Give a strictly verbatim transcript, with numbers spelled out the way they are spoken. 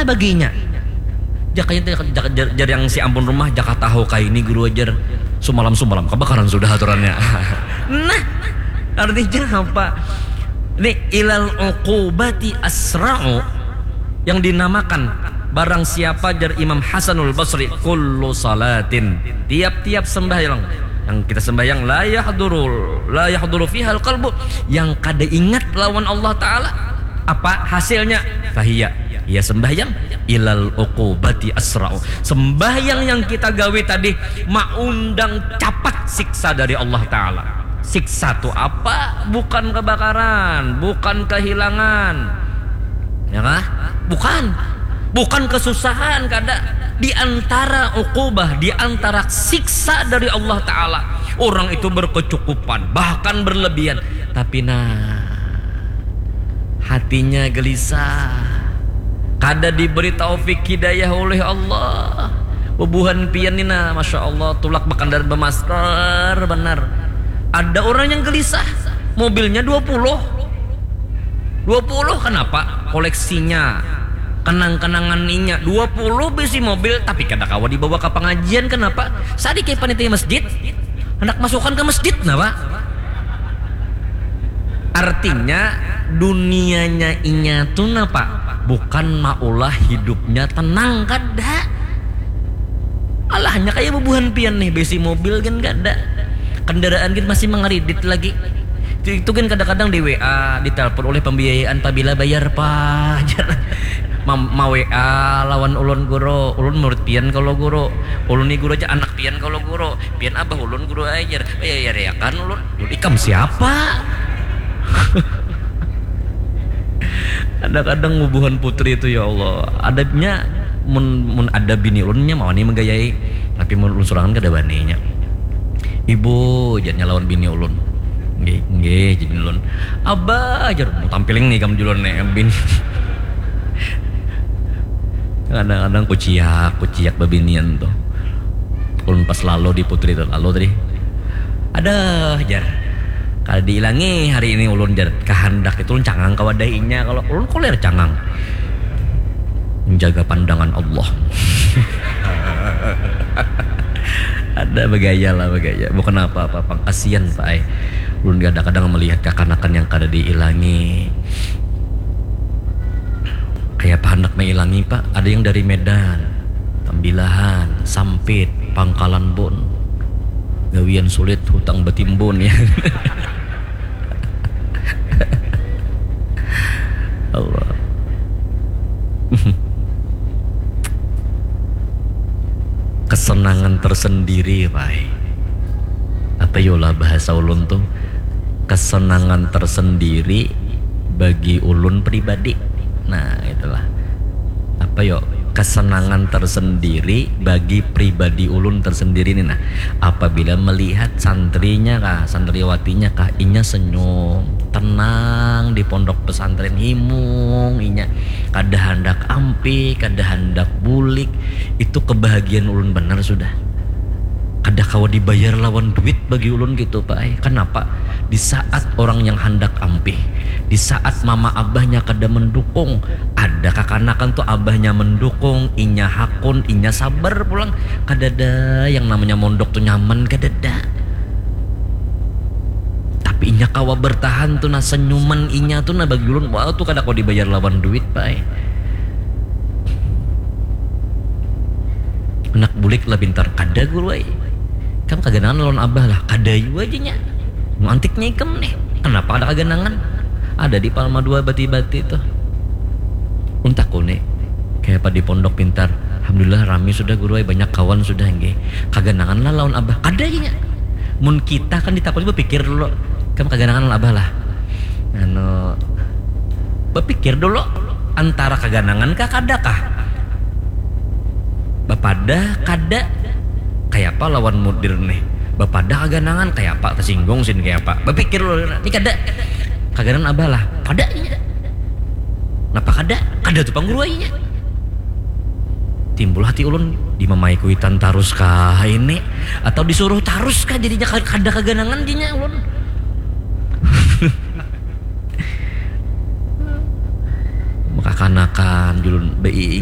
baginya. Jakanya jar, jar, jar yang si ampun rumah, jaka tahu kaini guru ajar sumalam-sumalam kabakaran sudah aturannya. Nah, artinya apa? Ini ilal uqubati asra'u yang dinamakan barang siapa, jar Imam Hasanul Basri, kullu salatin, tiap-tiap sembahyang yang kita sembahyang, la yahduru la yahduru fihal qalbu, yang kada ingat lawan Allah Ta'ala, apa hasilnya? Fahiya, ia sembahyang, ilal uqubati asra'u, sembahyang yang kita gawe tadi maundang capat siksa dari Allah Ta'ala. Siksa tu apa? Bukan kebakaran, bukan kehilangan, ya kah? Bukan, bukan kesusahan, kada. Di antara uqubah, di antara siksa dari Allah Ta'ala, orang itu berkecukupan, bahkan berlebihan, tapi nah, hatinya gelisah, kada diberi taufik hidayah oleh Allah. Bubuhan pian ni nah, masya Allah, tulak bakandar bamasker benar. Ada orang yang gelisah, mobilnya dua puluh. Dua puluh, kenapa? Koleksinya, kenang-kenangan inya, dua puluh bisi mobil, tapi kada kawa dibawa ke pengajian. Kenapa? Sadikit panitia masjid, hendak masukkan ke masjid, kenapa? Artinya, dunianya inya tu napa? Bukan maulah hidupnya tenang, kada. Alahnya kaya bubuhan pian nih, besi mobil kan kada, kendaraan kan masih mengeridit lagi. Itu, itu kan kadang-kadang di W A, ditelepon oleh pembiayaan, pabila bayar pajar. Ma W A lawan ulun guru, ulun murid pian kalau guru, ulun ni guru aja anak pian kalau guru, pian abah ulun guru ajar, bayar ya kan ulun. Ikam siapa? Kadang-kadang bubuhan putri itu, ya Allah, adabnya mun, mun ada bini ulunnya mau nih menggayai, tapi mun ulun surangan kada baninya. Ibu, jadinya lawan bini ulun. Nggih, nggih, jadi ulun. Abah, jar, mau tampiling nih kamu dulu nih, bin. Kadang-kadang kuciak, kuciak babinian tuh. Ulun pas lalu di putri tuh, lalu tadi. Aduh, jar. Kada diilangi hari ini ulun, jar. Kehendak itu ulun cangang ka wadah inya. Kalau ulun kulir cangang. Menjaga pandangan Allah. Ada bagaya lah, bagaya. Bukan apa-apa, pang kasihan, Pak, ai. Ulun kadang-kadang melihat kakanakan yang kada diilangi. Kayak apa hendak mailangi, Pak? Ada yang dari Medan, Tambilahan, Sampit, Pangkalan Bun. Gawian sulit, hutang batimbun, ya. Allah. Kesenangan tersendiri, Pak. Apa yolah bahasa ulun tuh? Kesenangan tersendiri bagi ulun pribadi. Nah, itulah. Apa yo? Kesenangan tersendiri bagi pribadi ulun tersendiri nih nah. Apabila melihat santrinya kah, santriwatinya kah, inya senyum, tenang di pondok pesantren, himung inya. Kada handak ampih, kada handak bulik. Itu kebahagiaan ulun benar sudah. Kada kawa dibayar lawan duit bagi ulun gitu, Pak ai. Kenapa? Di saat orang yang handak ampih, di saat mama abahnya kada mendukung, ada kakanakan tuh abahnya mendukung, inya hakun, inya sabar pulang. Kadada yang namanya mondok tuh nyaman, kadada. Tapi inya kawa bertahan tuh nah, senyuman inya tuh nah bagi ulun, wah, tuh kada kawa dibayar lawan duit, Pak ai. Anak bulik lah pintar, kada guru ai. Kam kaganangan lawan abah lah, kada jua janya. Mau antiknya ikam nih, kenapa kada kaganangan? Ada di Palma dua bati-bati tuh. Ulun takuni, kaya apa di pondok pintar? Alhamdulillah rami sudah guru ai, banyak kawan sudah nggih. Kaganangan lah lawan abah, kada janya. Mun kita kan ditakuni bapikir dulu, kam kaganangan lawan abah lah. Anu, bapikir dulu, antara kaganangan kah kada kah? Bapadah kada? Kaya apa lawan mudir nih? Bapadah kaganangan, kaya apa? Tersinggung sin kaya apa? Bapikir dulu, ini kada. Kaganangan abah lah, kada inya. Napa kada? Kada tuh pang guru ai inya. Timbul hati ulun, dimamai kuitan tarus kah ini? Atau disuruh tarus kah jadinya ka-, kada kaganangan jadinya ulun. Makakanakan julun baiing